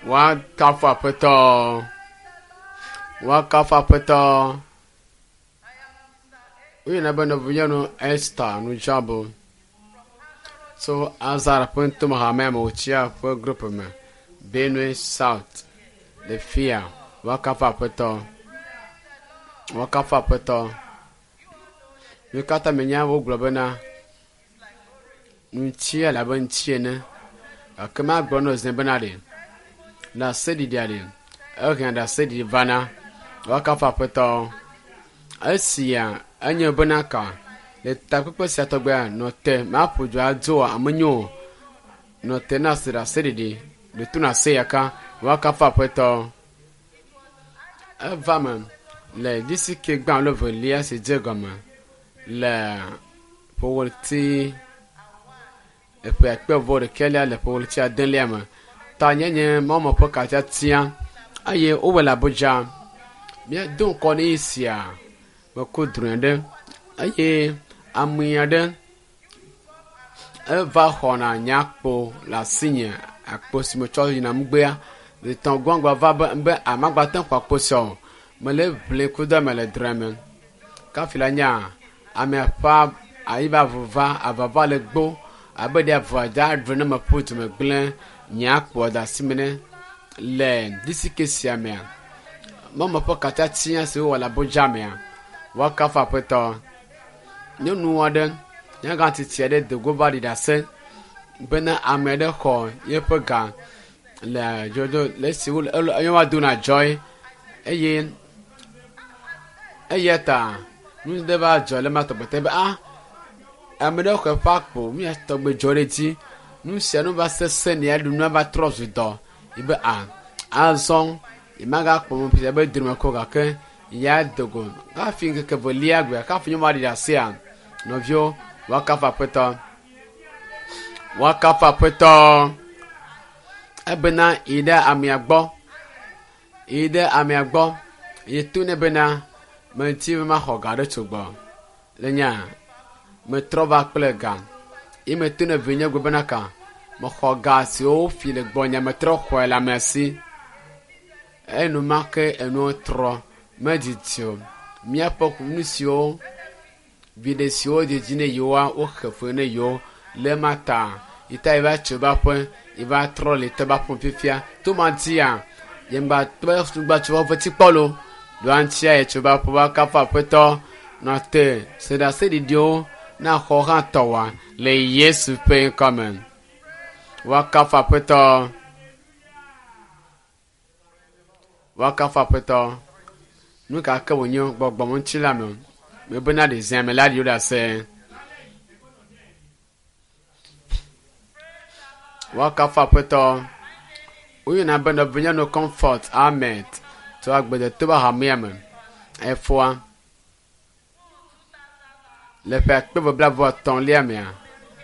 Woakafu Aƒetɔ. Woakafu Aƒetɔ. Woyɔna be nɔvinyɔnu Esther Nudzabo tso Azar ƒe ŋutome hamea me wòtsia ƒe group me Benue South le fia. Woakafu Aƒetɔ. Woakafu Aƒetɔ. Mi katã mienya wogblɔ bena ŋutia le abe ŋuti ene gake magblɔ na wò zi bena ɖe ɖaseɖiɖia ɖe ehea ɖaseɖiɖi vana. Woakafu Aƒetɔ. Esia enye bena ka le takpekpe sia tɔgbea nɔ te maƒo du adzo ame nyo o. Nɔ te na se ɖaseɖiɖi ɖe to na se yaka woakafu Aƒetɔ. Eva me le disike gbã alo evelia si dze gɔme le ƒewleti eƒe akpe vɔ ɖekɛlia le ƒewleti adelia me. Tanyenye mɔme ƒe katiatia eye wowɔ le Abuja. Míedo ŋkɔ ne sia meku drɔ̃e ɖe eye ame aɖe eva xɔna nye akpo le asinye akpo si metsɔ yina ŋugbea etɔ̃ gbɔngbɔ va be be amagba te xɔ akpo sia o. Mele ʋli ku do me le drɔ̃e me. Kafi la nya amea ƒe ayi va vuva avava le gbo abe ɖe avua dza ɖu ne meƒu du me gblẽ nye akpoa da asi me ne le disike sia mea. Mɔme ƒe katiatia si wowɔ le Abuja mea woakafu Aƒetɔ. Nyɔnu aɖe nyagã tsitsi aɖe do go va ɖi ɖase bena ame aɖe xɔ yeƒe ga le dzodzo le esi wo ele va dona dzɔe eye eya ta nu ɖe va dzɔ le ma tɔgbe te be ah ame ɖe xɔ eƒe akpo nu ya tɔgbe dzɔ ɖe edzi. Nu sia nu va sesẽ nɛ aɖu nua va trɔ zu dɔ yi be ah azɔ yemagakpɔ mɔ ƒe be drome ko gake ya do go hafi ŋkeke velia gbe hafi nyɔnua ɖi ɖasea nɔviwo woakafu Aƒetɔ. Woakafu Aƒetɔ ebena yi ɖe amea gbɔ yi ɖe amea gbɔ yi to nɛ bena meti be maxɔ ga ɖe tso gbɔ le nya metrɔ va kple ga yi meto ne vinye gblɔ bena ka mexɔ ga siwo wofi le gbɔnye metrɔ xɔe le amea si enumake enuwo trɔ medidi o míaƒe nu siwo viɖe siwo didi ne yewoa woxe fe ne yewo le ma ta yi ta yi va tso va ƒe yi va trɔ le te va ƒom fifia to ma dzia yemgba tɔ gba tso va ƒe kpɔ lo ɖoa ŋutia yi tso va ƒe va kafu Aƒetɔ nɔ te se ɖaseɖiɖiwo na xɔ hã tɔwa le Yesu ƒe ŋkɔme. Woakafu Aƒetɔ. Woakafu Aƒetɔ. Nu ka ke wònye gbɔgbɔmeŋuti la me mebena ɖe zia me la ɖi ɖase. Woakafu Aƒetɔ. Woyɔna be nɔvinyɔnu Comfort Ahmed tso agbedetoba hamea me. Efoa le ƒe akpe eve blaeve etɔ̃lia mea.